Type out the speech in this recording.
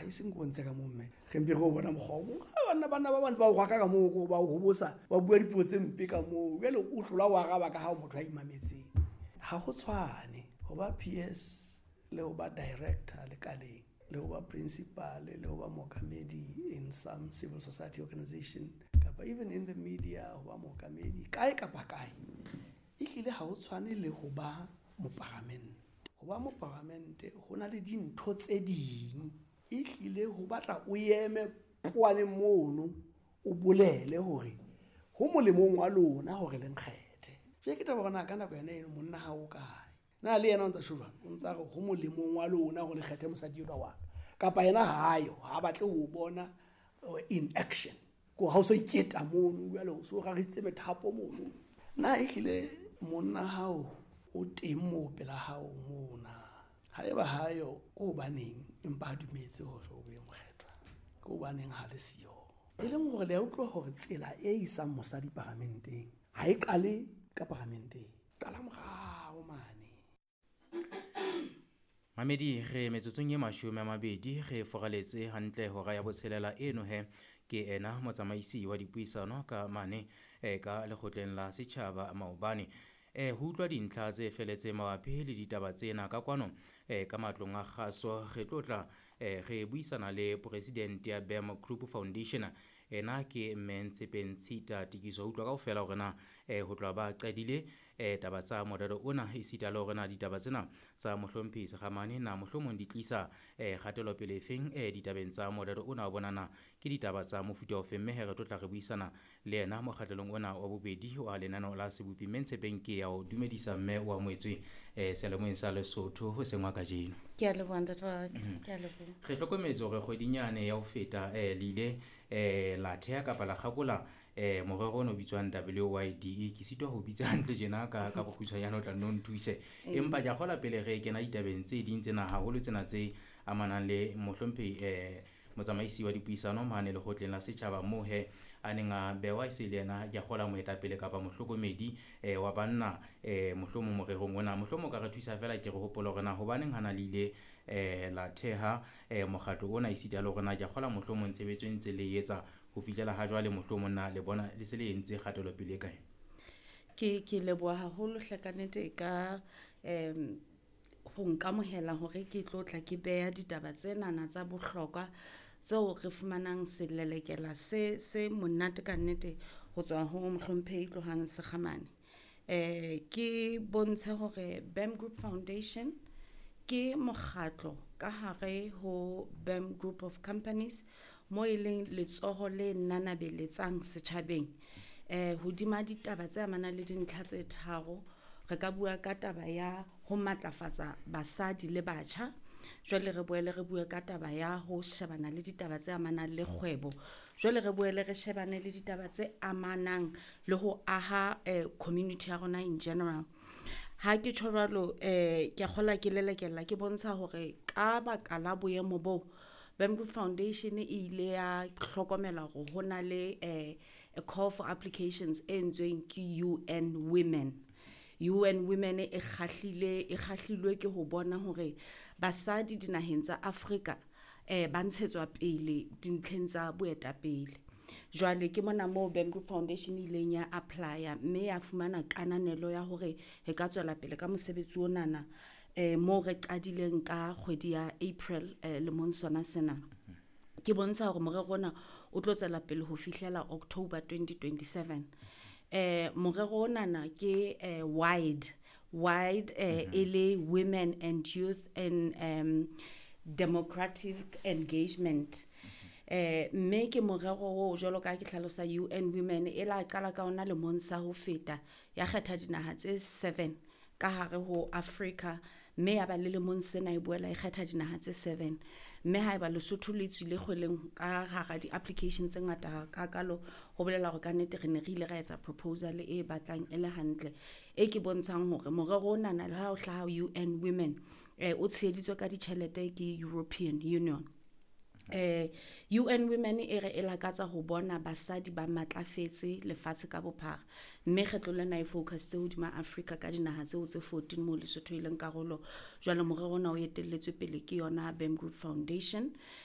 E seng ko bontshe ka moo, mme re mpe re o bona mokgwa o mong. Banna ba bantse ba o rwaka ka moo, ko ba o hobosa, ba bua dipuo tse mpe ka moo. Jwale o hlola o araba ka ha o motho a imametseng. Ha ho tshwane ho ba PS le ho ba director lekaleng, le ho ba principal, le ho ba mookamedi in some civil society organization, kapa even in the media, ho ba mookamedi kae kapa kae. Ehlile ha ho tshwane le ho ba moparamente. Ho ba moparamente ho na le dintho tse ding, ehlile ho batla o eme poaneng mono, o bolele hore ho molemong wa lona hore le nkgethe. Jwale ke taba hore na ka nako yona eno monna ha o kae, na le yena o ntsa tjho jwang, o ntsa re ho molemong wa lona hore le kgethe mosadi enwa wa ka, kapa yena hayo, ha batle ho bona in action, ko ha o so iketa mono, jwale o so rarisitse methapo mono. Na ehlile monna hao o teng moo pela hao mona? Haeba hayo, ke hobaneng empa a dumetse hore o be mokgethwa? Ke hobaneng ha le siyo? E leng hore le a utlwa hore tsela e isang mosadi paramenteng ha e qale ka paramenteng, qala morao mane. Mamedi, re metsotsong e 20 re foraletse hantle hora ya 6 eno he. Ke ena motsamaisi wa dipuisano ka mane ka lekgotleng la setjhaba maobane. Ho utlwa dintlha tse feletseng mabapi le ditaba tsena ka kwano ka matlong a kgaso, re tlo tla re buisana le president ya BAM Group Foundation, ena ke mme Ntshepeng Tshita Tikiso. Ho utlwa kaofela hore na ho tloha ba qadile taba tsa morero ona, esita le hore na ditaba tsena tsa mohlomphehi Sekgamane na mohlomong di tlisa kgatelopele efeng ditabeng tsa morero ona wa bona, na ke ditaba tsa mofuta ofeng. Mme he re tlo tla re buisana le yena mokgatlelong ona wa bobedi wa lenaneo la Sebopi. Mme Ntshepeng, ke ya o dumedisa mme wa moetswe seyalemoyeng sa Lesotho ho sengwa kajeno. Ke a leboha, ntate wa ka. Ke a leboha. Re hlokometse hore kgwedinyane ya ho feta le ile la theha kapa la kgakola morero ono o bitswang WYDE. Ke sitwa ho bitsa hantle tjena ka bokgutshwanyane, o tla nno nthuse. Empa ke a kgolwa pele re kena ditabeng tse ding tsena, haholo tsena tse amanang le mohlomphehi motsamaisi wa dipuisano mane lekgotleng la setjhaba, moo he a neng a bewa e se le yena, ke a kgolwa, moetapele kapa mohlokomedi wa banna mohlomong morerong ona. Mohlomong o ka re thusa feela ke re hopole hore na hobaneng ha na le ile la theha mokgatlo ona, esita le hore na ke a kgolwa mohlomong tshebetso e ntse le etsa ho fihlela ha jwale, mohlomong na le bona le se le entse kgatelopele e kae? Ke leboha haholo hle ka nnete ka ho nkamohela hore ke tlo tla ke beha ditaba tsenana tsa bohlokwa tseo re fumanang selelekela se monate ka nnete ho tswa ho mohlomphehi Tlohang Sekgamane. Ke bontshe hore BAM Group Foundation ke mokgatlo ka hare ho BAM Group of Companies, mo e leng letsoho le nanabeletsang setjhabeng. Hodima ditaba tse amanang le dintlha tse tharo, re ka bua ka taba ya ho matlafatsa basadi le batjha, jwale re boele re bue ka taba ya ho shebana le ditaba tse amanang le kgwebo, jwale re boele re shebane le ditaba tse amanang le ho aha community ya rona in general. Ha ke tjho jwalo, ke a kgolwa ke lelekela ke bontsha hore ka baka la boemo bo, BAM Group Foundation e ile ya hlokomela hore ho na le a call for applications e entsweng ke UN Women. UN Women e kgahlilwe ke ho bona hore basadi dinaheng tsa Afrika ba ntshetswa pele dintlheng tsa boetapele. Jwale ke mona moo BAM Group Foundation e ileng ya apply-a mme ya fumana kananelo ya hore re ka tswela pele ka mosebetsi onana, moo re qadileng ka kgwedi ya April lemong sona sena. Ke bontsha hore morero ona o tlo tswela pele ho fihlela October 2027. Morero onana ke wide e le Women and Youth and Democratic Engagement. Mme ke morero o jwalo ka ke hlalosa, UN Women e la qala ka ona lemong sa ho feta, ya kgetha dinaha tse 7 ka hare ho Africa, mme ya ba le lemong sena e boela e kgetha dinaha tse 7. Mme haeba Lesotho le tswile kgweleng ka hara di-application tse ngata hakalo, ho bolela hore ka nnete re ne re ile ra etsa proposal e batlang e le hantle, e ke bontshang hore morero onana le ha o hlaha UN Women, o tsheheditswe ka ditjhelete ke European Union. UN Women e re e lakatsa ho bona basadi ba matlafetse lefatshe ka bophara, mme kgetlo lena e focusitse hodima Africa ka dinaha tseo tse 14 moo Lesotho e leng karolo. Jwale morero ona o etelletswe pele ke yona BAM Group Foundation.